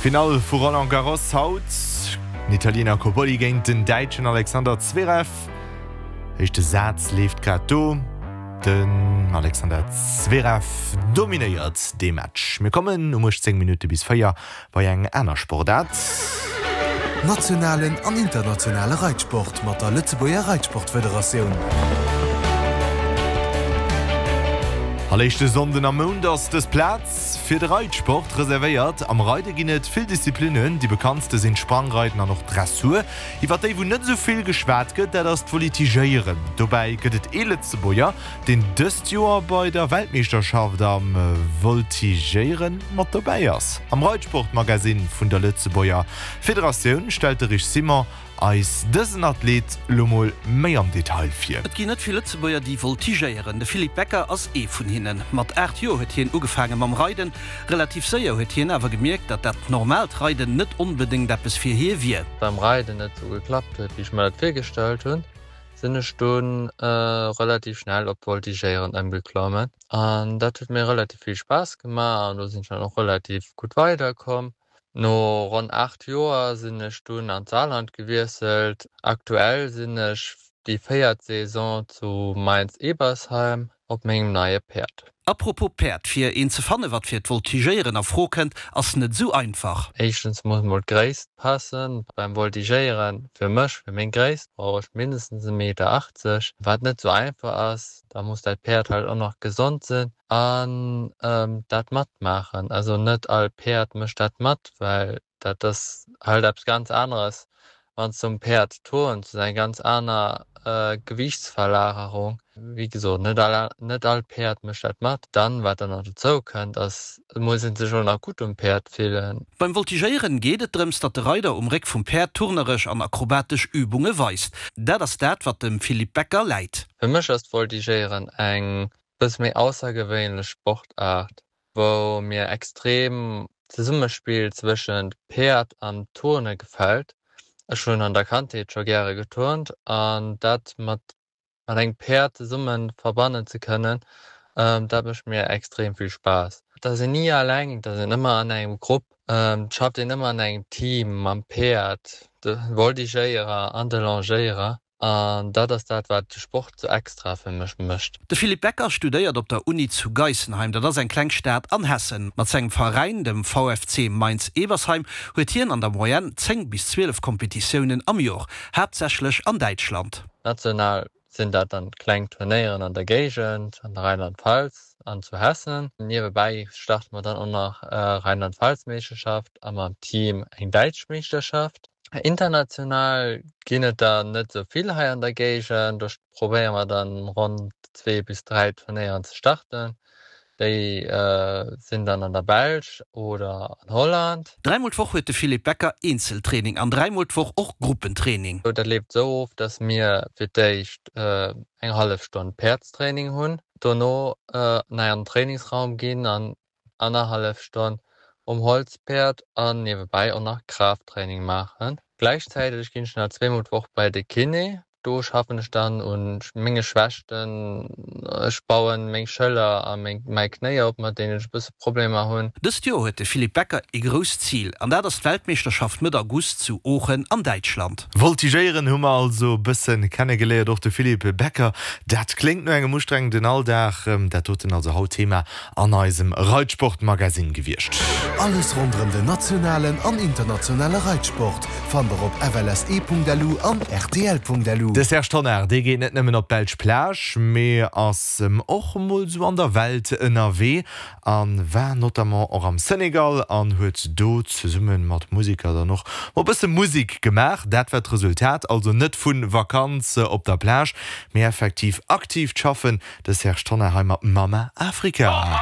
Finall vu Roland Garros haut, Den Italiener Cobolli géint den Däitschen Alexander Zverev. Éischte Saz leeft grad do. Den Alexander Zverev dominéiert dee Match. Mir kommen um 18 Minutte bis 4 bei eng aner Sportaart. Nationalen an internationale Reitsport mat der Lëtzebuerger Reitsportfederatioun. All éischte Sonnden am Mount ass dës Plaz fir de Reitsport reservéiert. Am Reide ginn et vill Disziplinnen, déi bekanntste sinn d'Sprangreiden an och d'Dressur. Iwwer déi wou net esou vill geschwat gëtt, dat ass d'Volitigéieren. Dobäi gëtt et ee Lëtzebuerger, deen dëst Joer bei der Weltmeeschterschaft am Voltigéiere mat dobäi ass. Am Reitsport-Magasinn vun der Lëtzebuerger Federatioun stellt de Rich Simon eis dësen Athlet lo mol méi am Detail vir. Et ginn net vill Lëtzebuerger, déi voltigéieren. De Philippe Becker ass ee vun hinnen. Mat 8 Joer huet hien ugefaange mam Reiden. Relativ séier huet hien awer gemierkt, datt dat normaalt Reiden net onbedéngt eppes fir hie wier. Beim Reiden net sou geklappt huet, wéi ech mer dat virgestallt hunn, sinn ech dunn relativ schnell op d'Voltigéieren ëmgeklommen an dat huet mir relativ vill Spaass gemaach an do sinn ech dann och relativ gutt weiderkomm. No ronn 8 Joer sinn ech dunn an d'Saarland gewiesselt. Aktuell sinn ech déi véiert Saison zu Mainz-Ebersheim op mengem neie Päerd. Apropos Päerd, fir een ze fanne wat fir d'Voltigéieren a Fro kënnt, ass net esou einfach. Éischtens muss mol d'Gréisst passen. Beim Voltigéieren, fir mech, fir meng Gréisst, brauch ech mindestens e Meter 80, wat net esou einfach ass. Da muss dat Päerd halt och nach gesond sinn an dat matmaachen. Also net all Päerd mécht dat mat, well Dat ass halt eppes ganz aneres, wann s du um Päerd turns, dat ass eng ganz aner Gewiichtsverlagerung. Wéi gesot, net all, net all Päerd mécht dat mat. Dann, wat dann nach dozou kënnt, ass, et muss ee sech och nach gutt um Päerd fillen. Beim Voltigéieren geet et drëms, datt de Reider um Réck vum Päerd turneresch an akrobatesch Übunge weist. Dat ass dat, wat dem Philippe Becker läit. Fir mech ass d'Voltigéieren eng bësse méi aussergewéinlech Sportaart, wou mir extrem d'Zesummespill zwëschent Päerd an Turne gefält. Ech hunn an der Kandheet scho gäre geturnt an dat mat mat engem Päerd zesumme verbannen ze kënnen, dat mécht mir extrem vill Spaass. Et ass een ni alleng, et ass een ëmmer an engem Grupp, et schafft een ëmmer an engem Team mam Päerd, de Voltigéierer an de Longéierer. An dat ass dat, wat de Sport sou extra fir mech mécht. De Philippe Becker studéiert op der Uni zu Geisenheim, dat ass eng kleng Stad an Hessen. Mat sengem Veräin, dem VFC Mainz-Ebersheim, huet hien an der Moyenne 10 bis 12 Kompetitiounen am Jor, haaptsächlech an Däitschland. National sinn dat dann kleng Turnéieren an der Géigend, an der Rheinland-Pfalz an zu Hessen. Niewebäi starte mer dann och nach Rheinland-Pfalz-Meeschterschaft a mam Team eng däitsch Meeschterschaft. International ginn et der net esou vill hei an der Géigend. Do probéiere mer dann ronn 2 bis 3 Turnéieren ze starten. Déi sinn dann an der Belsch oder an Holland. Dräimol d'Woch huet de Philippe Becker Eenzeltraining an dräimol d'Woch och Gruppentraining. Dat leeft esou of, dass mir fir d'éischt eng hallef Stonn Päerdstraining hunn, dono nei an den Trainingsraum ginn an annerhallef Stonn um Holzpäerd an niewebäi och nach Kraafttraining maachen. Gläichzäiteg ginn ech nach zweemol d'Woch bei de Kiné. Do schaffen ech dann un menge Schwächten, ech bauen meng Schëller a mäi Knéi op, mat deenen ech e bësse Problemer hunn. Dëst Joer huet de Philippe Becker ee grousst Zil an dat ass d'Weltmeeschterschaft Mëtt August zu Oochen an Däitschland. Voltigéieren hu mer also e bëssen kennegeléiert, och de Philippe Becker. Dat kléngt no engem ustrengenden Alldag. Dat doten also haut Thema an eisem Reitsport-Magazine gewiescht. Alles ronderëm den nationalen an internationale Reitsport fannt der op flse.lu an rtl.lu. De Serge Tonnar, dee geet net nëmmen op d'belsch Plage, mee ass och mol sou an der Welt ënnerwee a war notamment och am Senegal an huet do zesumme mat Museker dann och mol bësse Musek gemaach. Dat war d'Resultat, also net vu Vakanz op der Plage, mee effektiv aktiivt Schaffen. De Serge Tonnar hei mat Mama Africa.